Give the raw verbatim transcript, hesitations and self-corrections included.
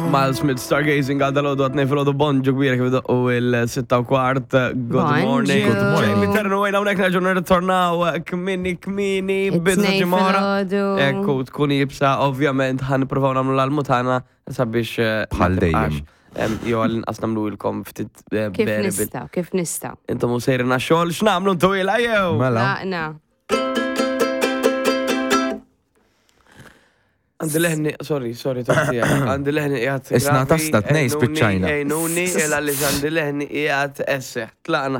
Miles Smith Stargazing għal dal-għodu għat filgħodu, bonġu kbira kif u il-sitta u kwart. Good Bonġu. morning. Good morning. Jamie Ternu għajna unek nerġu nirritornaw kmini kmini bidu It-tnejn ġimgħa. filgħodu. Ekku tkun jibsa, ovvjament ħan provaw namlu l-almutana sabiex eh, ma Bħal dejjem. tibqax, em, jew għal-inqas namlu ilkom ftit eh, Kif bearable. nistaw, kif nistaw. Intom u sejrina xogħol, x'namlu ntu ila jew? Mela. Laqna. Għandi leħni, sorry, sorry, toqtija. Għandi leħni qiegħed. Isna gravi, tasta tnej ejnuni, spiċċajna. Ejnuni, illa li għandi leħni qiegħed esseħ. Tlaqna.